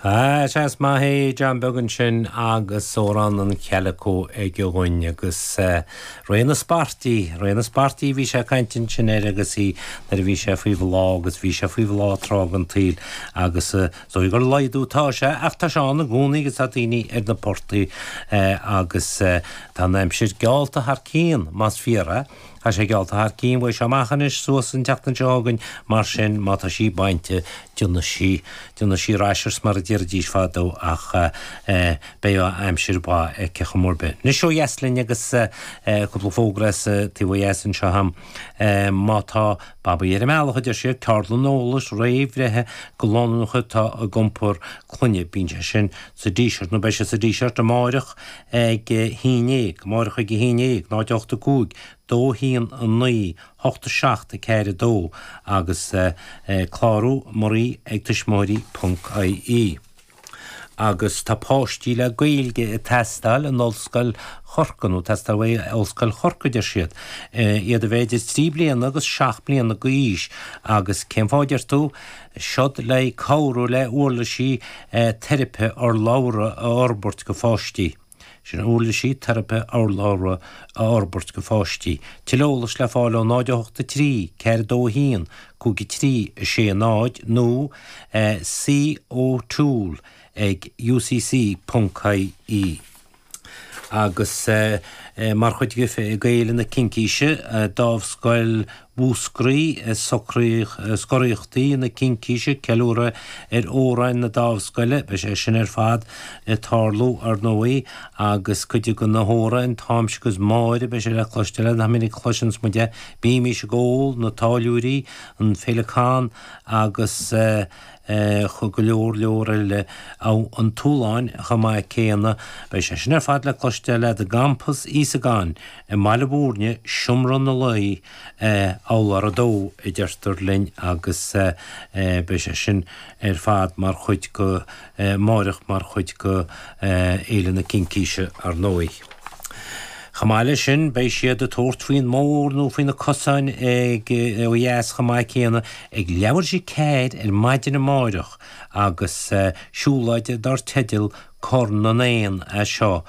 Ah, sea, is maith é John Beag ansin agus Amhrán an Chaileacó aige dhúinn agus Ré na Spairtí, Ré na Spairtí a bhí sé ag caint ansin air agus í nuair a bhí sé faoi bhláth agus bhí sé faoi bhláth tráth den tsaol agus is dóigh gur laghdú atá sé ach tá sé ann i gcónaí agus tá daoine ar na portaigh agus tá an aimsir geallta thar cionn más fíor é. Tá sé geallta thar cionn, beidh sé amach anois suas an tseachtain seo chugainn, mar sin má tá sí bainte, déanfaidh sí, déanfaidh sí rashers mar a déarfaidís fadó ach beidh aimsir mhaith aici chuma ar bith. Anois ó dheas linn agus cúpla fógra as an taobh ó dheas anseo agam. Má tá babaí ar an mbealach, a deir siad, ceardlann eolais réamhbhreithe go lánúineacha atá ag iompar clainne, bíonn sé sin sa Díseart, nó beidh sé sa Díseart amáireach, ag a haon dhéag, amáireach ag a haon dhéag, 0 8 5 2 1 9 8 7 4 2 agus clárú marie ag tuismitheoirí ponc ie. Agus tá páistí le Gaeilge ag teastáil in Ollscoil Chorcaí, nó teastáil uaidh Ollscoil Chorcaí deir siad, iad a bheith idir 3 bliana agus 7 bliana d'aois agus cén fáth a deir tú? Seod le cabhrú le uirlisí teiripe urlabhra a fhorbairt go pháistí. Sin uirlisí teiripe urlabhra a fhorbairt go pháistí. Tuilleadh eolais le fáil ó 0 8 3 4 2 1 5 3 6 0 nó C O'Toole ag ucc ponc ie. Agus mar chuid de Fhéile na Cincíse, Dámhscoil Mhúscraí, Scoraíochtaí na Cincíse, ceiliúradh ar amhráin na Dámhscoile, beidh sé sin ar fad ag tarlú, ar ndóigh, agus cuid de na hamhráin, Táimse agus Máire, beidh sé le cloisteáil, nach minic a chloiseanns muid é, Bímís ag Ól, Na Táilliúirí, An Féileacán agus. go leor leor eile an tSualainn chomh maith céanna. Beidh sé sin ar fad le cloisteáil i gCampas Íosagáin i mBaile Mhúirne, Seomra na Laoi, urlár 2, a deirtear linn agus beidh sé sin ar fad mar chuid go amáireach mar chuid go Fhéile na Cincíse ar ndóigh. Chomh maith leis sin, beidh siad ag tabhairt faoin mbóthar nó faoi na cosáin ag ó dheas chomh maith céanna ag leathuair tar éis 4 ar maidin amáireach agus siúlóid dar teideal Corn na nÉan é seo.